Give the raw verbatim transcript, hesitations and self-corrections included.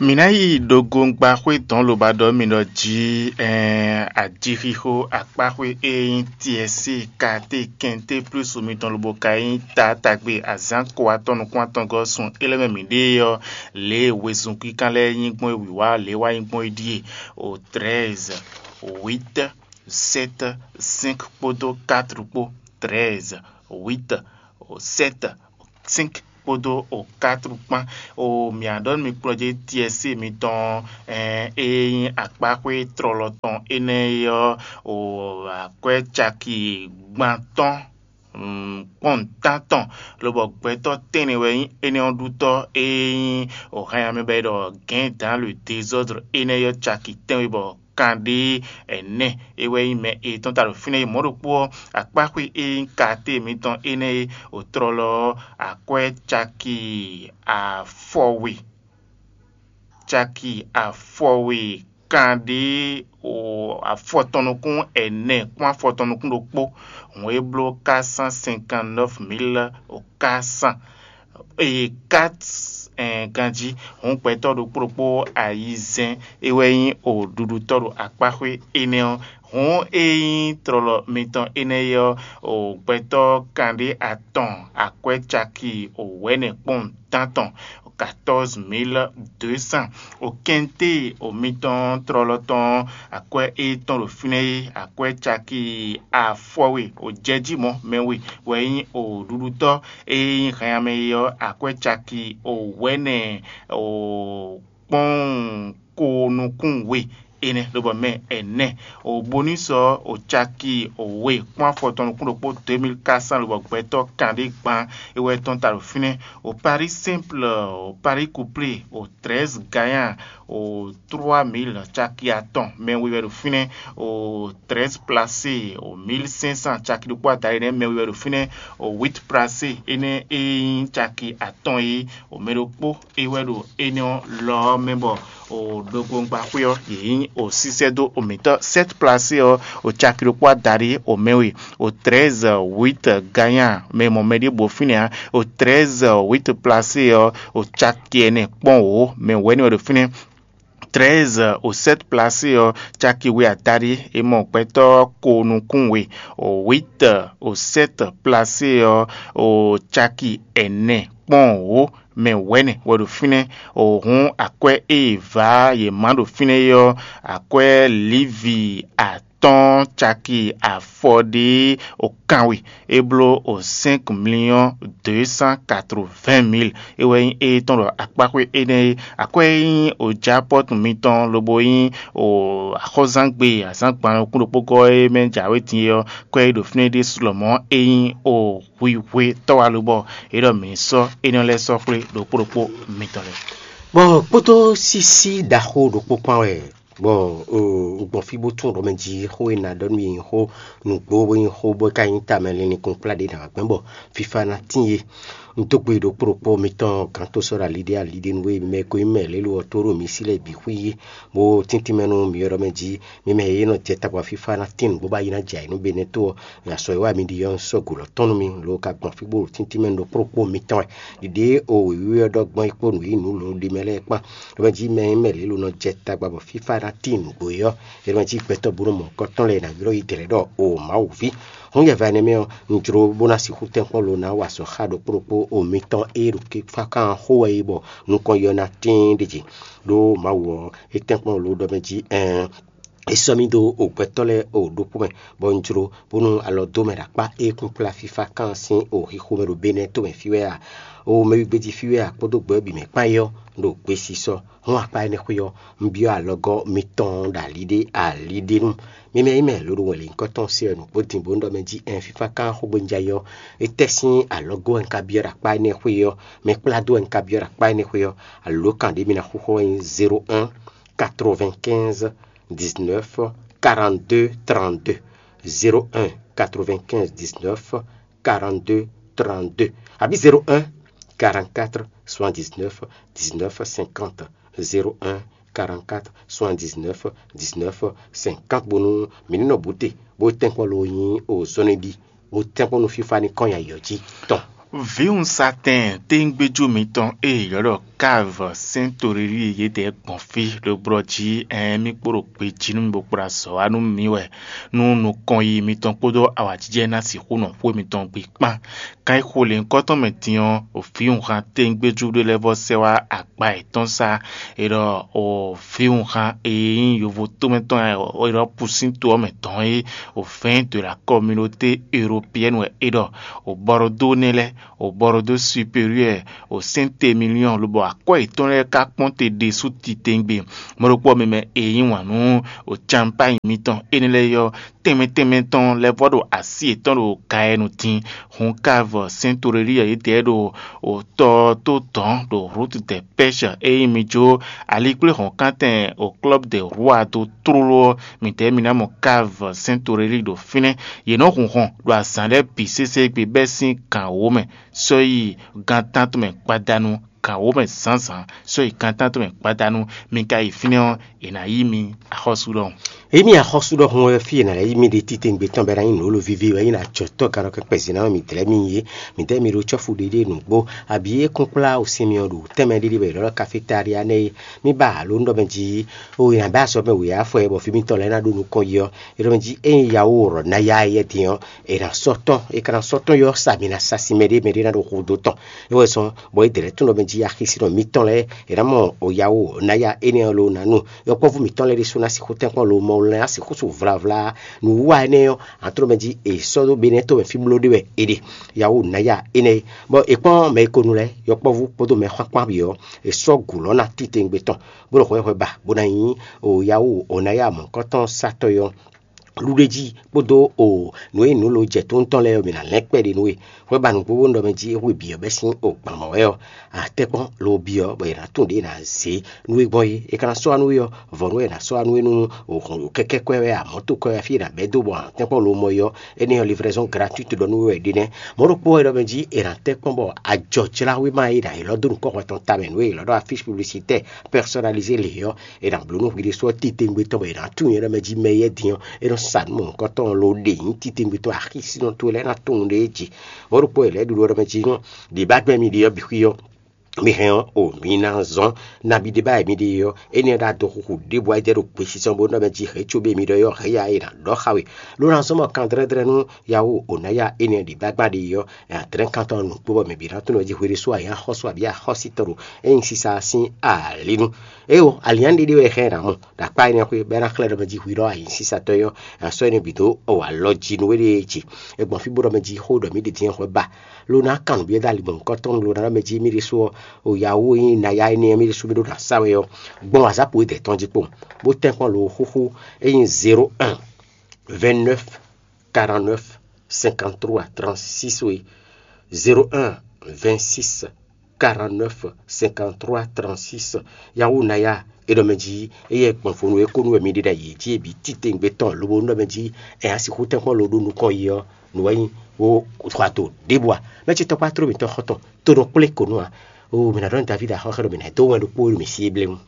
Mǐ ná yi ɖogongbaxwé dɔn loba ɖɔ mì ɖɔ jí ɛɛn ajixixo akpáxwé e nyí tiɛsí kate kɛnté plúsu mitɔn lobo ka nyí taatagbe azǎn ko atɔn nukún atɔngɔ́ sun é lɛ́ɛ mɛ mǐ ɖe ɔ́, lě e wezun kínkán lɛ́ɛ nyí gbɔn é wǐwá lě e wá nyí gbɔn é ɖíe: o treize, huit, sept, cinq kpódó quatre kpó. Treize, huit, sept, cinq kpódó o quatre kpán. O mǐ á ɖɔ nú mi kplɔ́njé tiɛsí mitɔn e nyí akpáxwé tlɔlɔ tɔn énɛ́ é ɔ́, o akwɛ́ caki gban tɔn kpɔ́n nǔtán tɔn, lobɔ gbɛtɔ́ tɛ́nnɛ wɛ nyí énɛ́ ɔ́ ɖutɔ́ e nyí o hɛn amɛ bɔ è ɖɔ gɛ̌n dans le désordre énɛ́ ɔ́ caki tɛ́nwe bɔ kanɖé ɛnɛ é wɛ nyí mɛ e tɔ́n ta ɖo fínɛ́. Mɔ̌ ɖokpó ɔ́, akpáxwé e nyí katé mitɔn énɛ́ e o tlɔlɔ ɔ́, akwɛ́ caki afɔwe caki afɔwe kanɖé afɔtɔn nukún ɛnɛ kpɔ́n afɔtɔn nukún ɖokpó. Hǔn é bló quatre cent cinquante neuf mille quatre cent eye quatre ganjí. Hǔn gbɛtɔ́ ɖokpó ɖokpó ayizɛ́n é wɛ nyí oɖuɖutɔ́ ɖo akpáxwé énɛ́ ɔ́. Hǔn e nyí tlɔlɔ mitɔn énɛ́ é ɔ́, gbɛtɔ́ kanɖé atɔn akwɛ́ caki wɛ̌nɛ́ kpɔ́n tántɔn, quatorze mille deux cents. O kɛnté o mitɔn tlɔlɔ tɔn akwɛ́ e tɔn ɖo fínɛ́ é, akwɛ́ caki afɔwe o jɛjí mɔ̌ mɛ we wɛ nyí o ɖuɖutɔ́ e nyí hɛn amɛ é ɔ́, akwɛ́ caki o wɛ̌nɛ́ o kpɔ́n ko nukún we énɛ́ lobɔ mɛ ɛnɛ. O bonus ɔ́, o caki o we kpɔ́n afɔtɔn nukún ɖokpó deux mille quatre cents lobɔ gbɛtɔ́ kanɖé gban é wɛ tɔn ta ɖo fínɛ́. O pari simple, o pari couplé, o treize gagnant, o trois mille caki atɔn mɛ we wɛ ɖo fínɛ́. O treize placé, o mille cinq cents caki ɖokpó adaɖé nɛ́ mɛ we wɛ ɖo fínɛ́. O huit placé énɛ́ e nyí caki atɔn é, o mɛ ɖokpó é wɛ ɖo énɛ́ ɔ́ lɔ ɔ́ mɛ bɔ o ɖokpóngbáxwé ɔ́, yě nyí o sísɛ́ dó o mǐtɔn. Sept placé ɔ́, o caki ɖokpó adaɖé o mɛ we. O treize huit gagnant mɛ mɔ mɛ ɖěbǔ fínɛ́ ǎ. O treize huit placé ɔ́, o caki ɛnɛ kpɔ́n wǒ mɛ wɛ̌ ní wɛ ɖo fínɛ́. Treize o sept placé ɔ́, caki we adaɖé e mɔ gbɛtɔ́ ko nukún we. O huit o sept placé ɔ́, o caki ɛnɛ kpɔ́n wǒ mɛ wɛ̌nɛ wɛ ɖo fínɛ́. O hǔn akwɛ́ e è vǎ yě má ɖo fínɛ́ é ɔ́, akwɛ́ Livi atɔ́ɔ́n caki afɔɖé o kanwe é bló o cinq millions deux cent quatre-vingt mille. É wɛ nyí étɔn ɖɔ akpáxwé énɛ́ é. Akwɛ́ e nyí o japɔ́tu mitɔn lobo nyí o axɔ́zángbé azǎngban nukún ɖokpó gɔ́ é mɛ jǎwe din é ɔ́, kwɛ́ e ɖo fínɛ́ ɖésú lɔmɔ̌ é nyí o hwihwe tɔ́walobɔ é ɖɔ mǐ sɔ́ énɛ́ lɛ́ɛ sɔ́ xwlé ɖokpó ɖokpó mitɔn lɛ́ɛ. Bɔ kpódó sísí ɖaxó ɖokpó kpán wɛ, bɔ un gbɔn fí bó tún ɖɔ mɛ jí xó e nǎ ɖɔ nú mi nyí xó nǔgbó bó nyí xó bó ka nyí tamɛ linlin kplá ɖé nǎ gbɛn bɔ fífá ná tín é. Un dó gbe ɖokpó ɖokpó mitɔn gǎn tó sɔ́ ɖo ali ɖé ali ɖé nú we mɛ ko nyí mɛ lélo ɔ́ tó ɖo mi sí lɛ́ɛ bǐ xwí é, bó tíntín mɛ nú mi ɔ́ ɖɔ mɛ jí mi mɛ e nɔ jɛ tagba fífá ná tín nǔgbó bá yi ná jɛ ayǐ nú Benɛ́to ɔ́, ya sɔ e wá mi ɖi ɔ́, un sɔ́ gǔ lɔ tɔn nú mi, lo ka gbɔn fí bó ɖo tíntín mɛ nú ɖokpó ɖokpó mitɔn wɛ. Ɖiɖe e o wěwé ɔ́ ɖɔ gbɔn é kpó nǔ e nyí nǔ lǒ ɖe mɛ lɛ́ɛ kpán. É mɛ jí mɛ e mɛ lě lo nɔ jɛ tagba bɔ fífá ná tín nǔgbó é ɔ́, é mɛ jí gbɛtɔ́ bó nɔ mɔ nukɔn tɔn lɛ́ɛ ná ylɔ́ yi dlɛ̌ ɖɔ o Mawu ví. Hɔn yɛva énɛ́ mɛ ɔ́, un jló bó ná sixú tɛ́nkpɔ́n lo ná wa azɔ̌ xá ɖokpó ɖokpó o mitɔn e ɖo fífá kan xó wɛ é bɔ nukɔn yɔ ná tíin ɖe jí. Ɖó Mawu ɔ́, é tɛ́nkpɔ́n lo ɖɔ mɛ jí ɛɛn é sɔ́ mì dó o gbɛtɔ́ lɛ́ɛ o ɖokpó mɛ, bɔ un jló bónú alɔ dó mɛ ɖo akpá e kún kplá fífá kan sín o xixo mɛ ɖo Benɛ́to mɛ fí wɛ a? O mɛ wígbéjí fí wɛ a kpódó gbɛ ɔ́ bǐ mɛ kpán é ɔ́, un ɖo gbesisɔ. Hɔn akpá énɛ́ xwé ɔ́, un byɔ́ alɔgɔ́ mitɔn ɖo ali ɖé ali ɖé nu. Mi mɛ yi mɛ lǒ ɖo wɛn lě nyǐkɔ tɔn se wɛ nǔgbó din bó un ɖɔ mɛ jí ɛn fífá kan xógbénújá é ɔ́, étɛ́ sín alɔgɔ́ wɛ un ka byɔ́ ɖo akpá énɛ́ xwé ɔ́? Mɛ kplá dó wɛ un ka byɔ́ ɖo akpá énɛ́ xwé ɔ́? Alǒkan ɖě mi ná xúxɔ ɔ́ nyí zéro un quatre-vingt-quinze dix-neuf quarante-deux trente-deux, zéro un quatre-vingt-quinze dix-neuf quarante-deux trente-deux, abǐ zéro un quarante-quatre soixante-dix-neuf dix-neuf cinquante, zéro un quarante-quatre soixante-dix-neuf dix-neuf cinquante, bónú mǐ ní nɔ bǔ te bó tɛ́nkpɔ́n lo nyí o zɔ́nɛ́ ɖi bó tɛ́nkpɔ́n nú fífá ní kɔn nyi ayǐ ɔ́ jí tɔn. Vǐwunzatɛn téńgbéjú mitɔn e è ylɔ́ ɖɔ Káv sɛ́n toɖéɖíe yědɛɛ gbɔn fí ɖo blɔ́ jí, ɛɛn mì kpo ɖo gbejí nú mi bó kplá azɔ̌ wá nú mì wɛ, nú nukɔn yi mitɔn kpódó awǎjijɛ ná sixú nɔ xwé mitɔn gbe kpán. Kan e xo lěhunkɔtɔn mɛ din ɔ́, vǐwunhan tɛngbéjú ɖé lɛ́ɛ vɔ sɛ́ wá akpa yětɔn sá. È ɖɔ vǐwunhan e nyí yovo tómɛ tɔn e è ɖɔ Pusín to ɔ́ mɛ dɔn é, vɛ̌ɛn de la kɔminɔté eropeyɛ́ni wɛ é ɖɔ. Bɔɖodó nɛ́ lɛ́ɛ, bɔɖodó superiwɛ́ɛ, sɛ́ntemiliyɔn lobɔ akwɛ́ yětɔn lɛ́ɛ ka kpɔ́n te ɖésú titewungbe. Mɔ̌ ɖokpó ɔ́, mɛ mɛ e nyí wǎn nú campáyi mitɔn énɛ́ lɛ́ɛ ɔ́, tɛnmɛ tɛnmɛ tɔn lɛ́ vɔ ɖo así yětɔn ɖo Gayɛnu din. Hun káv sɛ́n toɖéɖíe yědɛɛ ɖo tɔ ɔ́ tó dɔ̌n ɖo Rut de Pɛ́sh e nyí mi jó alikpléhɔ̌nkántɛn o Klɔ́b de Rua dó tlóló ɔ́, midɛɛ mi ná mɔ káv sɛ́n toɖéɖí ɖo fínɛ́. Yě nɔ́ hun hɔn ɖo azǎn lɛ́ɛ bǐ sésé gbe bɛ́ sín gǎn wǒ mɛ, sɔ́ yi gan tántɔn mɛ gbadanu, gǎn wǒ mɛ zǎnzǎn, sɔ́ yi gan tántɔn mɛ gbadanu. Mi ka yi fínɛ́ ɔ́, è nǎ yí mi axɔ́sú ɖɔhun. Emi axɔ́sú ɖɔhun wɛ fí e nǎ lɛ́ yí mi ɖe titewungbe tɔn bɔ é ná nyí nǔ lólo víví wɛ é ná jɔ tɔ́ ganɔ kɛkpɛ zǐn ná mì dlɛ́ mi é. Mǐdɛɛ mi ɖo cɔ́fu ɖiɖe nǔgbó, abǐ é kún kplá wǔsin mi ɔ́ ɖo tɛnmɛ ɖiɖe wɛ è nɔ ɖɔ kafetália nɛ́ é. Mì ba alo nú ɖɔ mɛ jí, o è nǎ bɛ́ azɔ̌ mɛ wěyá fɔ ɛ bɔ fí mitɔn lɛ́ɛ ná ɖo nukɔn yi ɔ́, é ɖɔ mɛ jí ényí yawo rɔ ná ya éyɛ́ din ɔ́, è nǎ sɔ́ tɔn, è ka ná sɔ́ tɔn yi ɔ́ sa mi ná sa sin mɛɖé, mɛɖé ná ɖo xo dó tɔn. É wɛ zɔ́n bɔ é dlɛ́ tún ɖɔ mɛ jí axisínɔ mitɔn lɛ́ɛ è nǎ mɔ yawo ná ya énɛ́ ɔ́ lo ná nu. Yɔkpɔ́vú mǐtɔn lɛ́ɛ ɖésú ná sixú tɛ́nkpɔ́n lo mɔ lɛ́ɛ ná sixú su vlavla nǔwiwa énɛ́ ɔ́, a tló mɛ jí è sɔ́ dó Benɛ́ɛ to mɛ fí bló ɖé wɛ è ɖe. Yawu nǎ ya énɛ́ é, bɔ è kpɔ́n mɛ e ko nu lɛ́ɛ, yɔkpɔ́vú kpódó mɛ xwánxwán bǐ ɔ́, è sɔ́ gǔ lɔ́ ná titewungbe tɔn, bó ɖo hwɛhwɛ ba, bó ná nyí o yawu o ná ya mɔ̌hunkɔtɔn satɔ́ ɔ́. Luɖéjí kpódó o nǔ e nǔ lo jɛ tó tɔn lɛ́ɛ ɔ́, mǐ ná lɛ́n kpɛɖé nú we. Hwɛ ba nǔgbó bónú ɖɔ mɛ jí é hwe bǐ ɔ́ bɛ́ sín o gbǎn mɔ̌ wɛ ɔ́, a tɛ́nkpɔ́n lo byɔ́ bɔ è nǎ tunwun ɖě è nǎ zě nú we gbɔn é. È ka ná sɔ́ wá nú we ɔ́, vɔ̌nu wɛ è nǎ sɔ́ wá nú we nú o hɔn kɛ́kɛ́ kwɛ́ wɛ, amɔ̌ to kwɛ́ wɛ, fí è nǎ bɛ́ dó bɔ a nǎ tɛ́nkpɔ́n lo mɔ é ɔ́, énɛ́ ɔ́ livraison gratuite ɖɔ nú we wɛ ɖé nɛ́. Mɔ̌ ɖokpó wɛ ɖɔ mɛ jí è nǎ tɛ́nkpɔ́n bɔ ajɔjláwéma e è nǎ ylɔ́ dó nukɔn hwɛ tɔn tamɛ nú we è ylɔ́ ɖɔ afíche publicitaire personnalisé lě ɔ́, è nǎ bló nú hwi ɖésú ɔ́ titewungbe tɔn bɔ è nǎ tunwun nyɛ ɖɔ mɛ jí mɛ yɛ́ din ɔ́, é nɔ sa nǔ mɔ̌hunkɔtɔn lo ɖe nyí titewungbe tɔn axísínɔ towe lɛ́ɛ ná tunwun ɖ'é jí. Mɔ̌ ɖokpó wɛ lɛ̌ ɖuɖu ɔ́ ɖɔ mɛ jí nú ɖě ba gbɛn mi ɖe ɔ́ bǐ xwí ɔ́, mi hɛn ɔ́, o mi ná zɔ́n nabí ɖé ba wɛ mi ɖe ɔ́, énɛ́ ɖo adɔxuxu ɖěbǔ wá yi dɛ ɖo gbesisɔ bó nɔ mɛ jí hɛ̌ cóbé mi ɖɔ ɔ́, hɛ̌ ya e è nǎ ɖɔ xá we. Ló ná zɔ́n mɔ kan dlɛ́dlɛ́ nú yawu o ná ya énɛ́ ɖě ba gbá ɖe ɔ́, è nǎ dlɛ́n kan tɔn nukpó bɔ mɛ bǐ ná tunwun jí hwe ɖésú a nyǐ axɔ́sú abǐ axɔ́sítɔn ɖo é nyí sisa ɔ́ sín alǐ nu. Éyo, alǐnnyánɖéɖé wɛ xá ɛ nǎ mɔ, ɖo akpá énɛ́ xwé, bɔ é ná xlɛ́ ɖɔ mɛ jí hwi ɖɔ a nyǐ sísatɔ́ ɔ́, è nǎ sɔ́ énɛ́ bǐ dó ɔ wǎ lɔ jí nú we ɖée ce. É gbɔn fí bó ɖɔ mɛ jí xó ɖɔ mǐ ɖe din xwɛ ba, lo ná kan nǔ byɔ́ dó ali mɔ̌hunkɔtɔn lo ná ɖɔ mɛ jí mì ɖésú ɔ́, o yawu e nyí naya énɛ́ ɔ́ mì ɖésú mì ɖó ná sa wɛ ɔ́, gbɔn wǎzápo e dɛ̌ tɔn jí kpowun, bó tɛ́nkpɔ́n lo xúxú e nyí zéro un, vingt neuf, quarante neuf, cinquante trois, trente six wé. Zéro un, vingt six, quarante neuf, cinquante trois, trente six. Yawu naya e ɖɔ mɛ jí éyɛ́ gbɔn vo nú é kó nú wɛ mi ɖe ɖo ayǐ jí é bǐ titewungbe tɔn lobo nú ɖɔ mɛ jí ɛ á sixú tɛ́nkpɔ́n lo ɖó nukɔn yi ɔ́, nǔ wɛ nyí wo xɔ ato ɖěbǔ a? Mɛ ce tɔkpá tló mǐtɔn xɔ́ntɔn, to nɔ kplé ko nú a. O mǐ ná ɖɔ nú Davídi axɔ́xɛ ɖɔ mǐ ná dó wɛn ɖokpó e ɖo mǐ sí é bléwún.